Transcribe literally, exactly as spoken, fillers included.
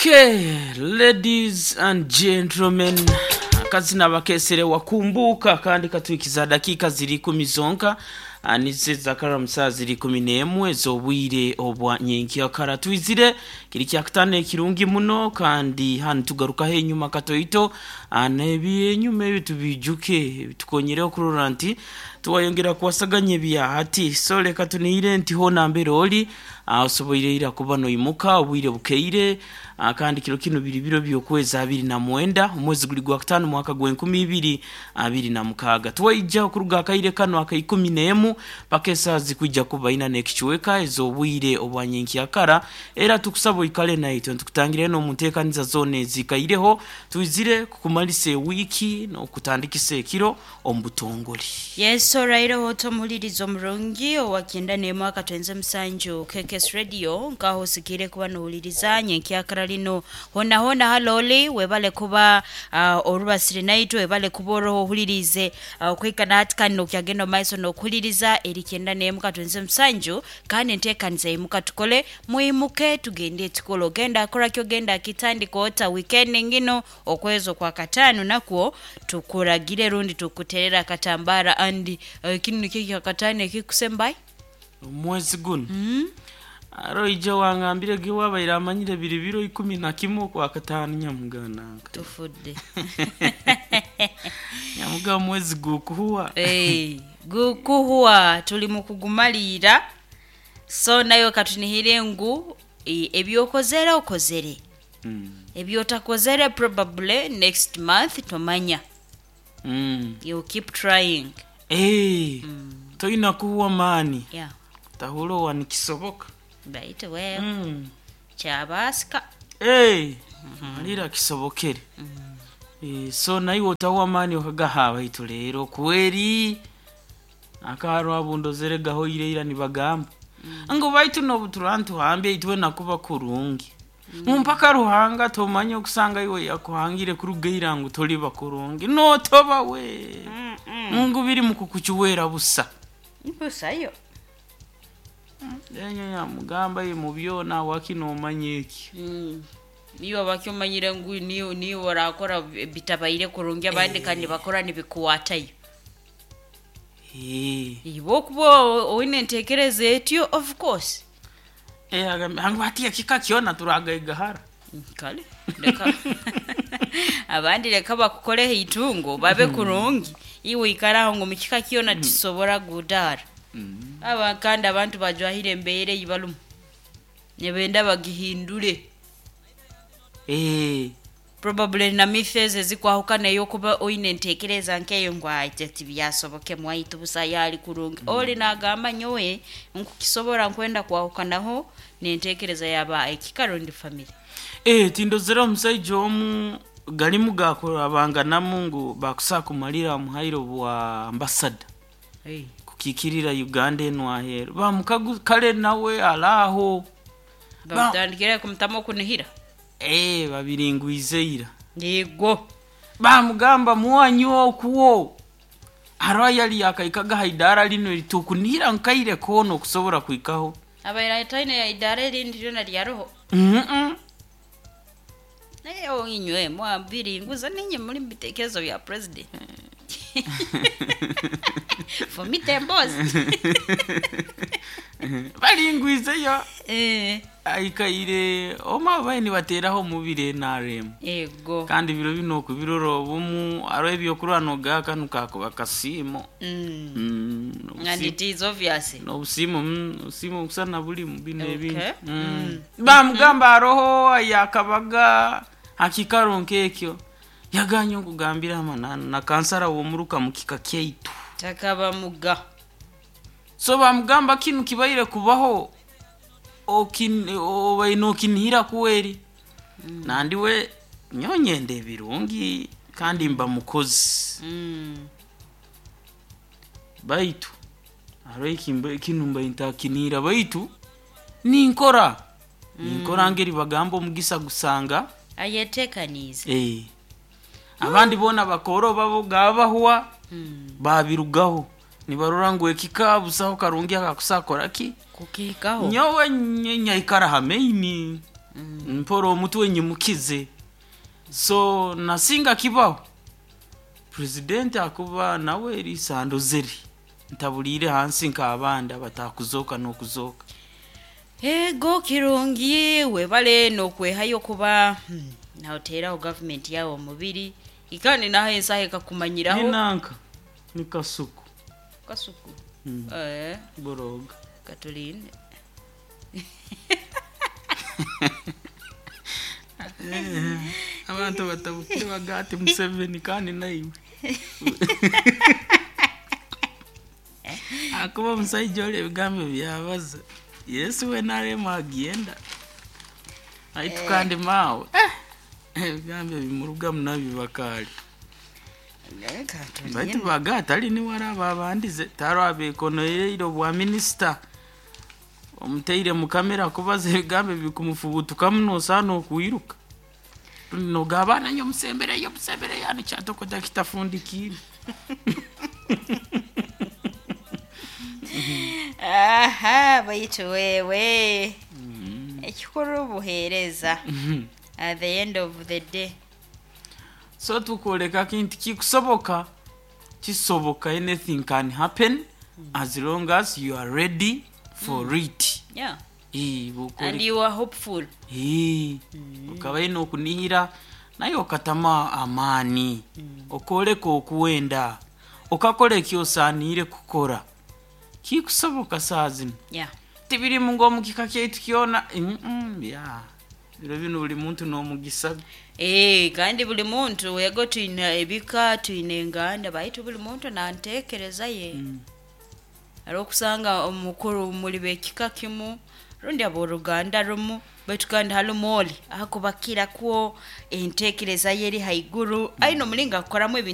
Okay, ladies and gentlemen, akazina bakesere wakumbuka kandi katwikiza dakika ziri ikumi zonka nize zakara saa ziri ikumi n'emwe z'obwire obwa nyenkyakara. Twizire kiri kyakutano ekirungi muno, kandi hanu tugarukaho enyuma katoito n'ebyenyuma ebi tubijuke bitukonyereho kurora nti tuwayongera kuwasaganya ebyahati. So leka tuniire nti hona mbere oli osoboire ira kuba noimuka obwire bukeire, kandi kiro kino biri biro by'okwezi abiri na mwenda omwezi guli gwa kutaano mwaka gw'enkumi ibiri abiri na mukaaga. Twaija okuruga akaire kano aka ikumi n'emu paka esaaha zikwija kuba ina n'ekichweka ez'obwire obwa nyenkyakara. Era tukusaba oikale naitwe ntukutangire n'omu nteekaniza zoona ezikaireho. Twizire kukumalisa ewiiki n'okutandikisa ekiro omu butongole. Yes, oraireho otomuhuliriza omurungi owakenda n'emu akatwenze musanju K K S Radio, nkaho osikire kuba nohuliriza nyenkyakara lino hona hona haloli. Webale kuba uh, orubasire naitwe, webale kuba oroho ohulirize uh, okwikana hati kandi nokyagenda omumaiso nokuhuliriza eri kyenda n'emu katwenze musanju. Kandi enteekaniza yimuka tukole, mwimuke tugende tukole, ogenda akoraki, ogenda akitandika ota weekend ngino. Okwezi okwa kataano nakwo tukuragire rundi tukuterera akatambara andi uh, kinu nikyo kyakataano ekikusembayo. Omwezi guno mm. Aro ija wangambire ge wabaire amanyire biri biro ikumi na kimwe okwa kataano, nyamugananga. Tufudde. Nyamuga omwezi gukuhuwa. Hey, gukuhuwa, tuli mu kugumaliira, so nayo katunihire ngu e, ebyokozere okozere, mm. ebyotakozere probably next month tomanya. mm. You keep trying. Hey, mm. toyina kuhuwa maani. Yeah tahulowa nikisoboka. Baitu well, mm. kyabasika. Hey, malira kisobokere. Eh, so naiwe otahuwa maani okagaha baitu leero kweri akarwa bundozere gahoire ira nibagamba ngo baitu nobutura ntuhambe itwe nakuba kurungi mpaka Ruhanga tomanya okusanga iwe yakuhangire kurugaira ngu toliba kurungi notoba we ngu biri mukukukiwera busa. Busayo. Enyo yamugamba ye mu byona wakinomanya eki. Mm. Niwe bakyomanyire ngu niwe niwe orakora bitabaire kurungi, abandi kandi bakora nibikuwatayo. Eh. Iwe okuba oine entekereza etyo, of course. Eh, agambe hangu hati ekika kyona turagaigahara. Kale leka abandi, leka bakukoreho itungo babe kurungi, iwe ikaraho ngu mukika kyona tisobora gudara. Aba kandi abantu bajwahire embeera ei barumu, nibenda bagihindure. Eh. Probably na myths ezikwahukana eyokuba oine entekereza nkeyo ngu aite tibyasoboke mwaitu busa yali kurungi. Oli nagamba nyowe nkukisobora nkwenda kwahukanaho nentekereza yaba ekikaro ndi family. Eh, tindozera omusaija omu galimu gakurabanganamu ngu bakusaa kumalira omuhairo bwa ambasada hey. kukikirira Uganda eno aheeru bamukagu kale nawe alaaho. Ba- Bamutandikire kumutamu okunihira. Eh, babiringwize ira. Yego. Bamugamba muwanyi okuwo aro yali yakaikaga haidara lino litukunihira nkaire koona okusobora kwikaho. Abaire ataine ya idara erindi ryona ryaroho. mm -mm. Naye inywe mwabiringuza ninye muri mubitekerezo bya president fumite embozi. Baringwizeyo. Eh, aikaire oma baine nibateraho mubire N R M. Yego. Kandi biro bino okubirora obumu aro ebyokurwa noga kanu kakuba kasiimo. Mm. Mm, And it is obvious. Nobusimu mm, obusimu okusana bulimu bino Okay. ebintu mm. Bamugamba aroho yakabaga hakikaro nkekyo yaganye okugambira amananu na kansara womuruka mukika kyaitu. Takaba muga. So bamugamba kinu kibaire kubaho okin- obaine okinihira kuweri mm. Nandiwe nyonyenda ebirungi kandi mba mukozi. Mm. Baitu aro ekimba- kinu mba ntakinihira baitu ninkora ninkora ngeri bagamba omugisa gusanga Ayetekanize. Eh. Abandi boona bakoro babo gabahwa Mm. babirugaho nibarora ngu ekika busaho karungi akakusakora ki. Kukihikaho. Nyowe nye- nyaikara hameini. Mpora omutwe nyimukize. So nasinga kibaho president akuba nawe erisandozeri ntabulire hansi nk'abandi abatakuzoka n'okuzoka. Ego kirungi, webale nokwehayo kuba hmm, naoteraho gavumenti yawe omubiri ikani naho ensaha ekakumanyiraho. Ninanka ni kasuku. Kasuku. Mm. Eh, boroga. Katulinde. Abantu batabukire bagati Museveni kandi naiwe akuba omusaija oli ebigambo byabaza yesu we narema agenda aitu kandi maawe ebigambo ebimurugamu nabyo bakaali. Eh, katulinde. Baitu baga tali niwe araba abandize taro abekonoyeire obwa minisita omuteire mukamera kubaza ebigambo bikumufubutuka muno osaana okwiruka nogabana nyo musembereyo musembereyo ani kyatokota kitafundikiire. Aha, baitu wewe ekikuru buheereza at the end of the day. So tukwoleka kintu kikusoboka, kisoboka, anything can happen as long as you are ready for it. Yeah. Eh, And bw'okwoleka- you are hopeful. Eh, okaba ine okunihira naye okatama amaani okoleka okuwenda okakola ekyosaaniire kukora kikusoboka saa zino. Yeah. Tibirimu ng'omukika kyaitu kyona. Mm, ya biro bino buli muntu n'omugisa. Eh, kandi buli muntu wego twine ebika twine enganda baitu buli muntu nantekereza ye. Ari okusanga omukuru muli bekika kimu rundi abooruganda rumu baitu kandi harimu oli ahakubakira kwo entekereza ye eri haiguru aine omulingo akukoramu ebintu.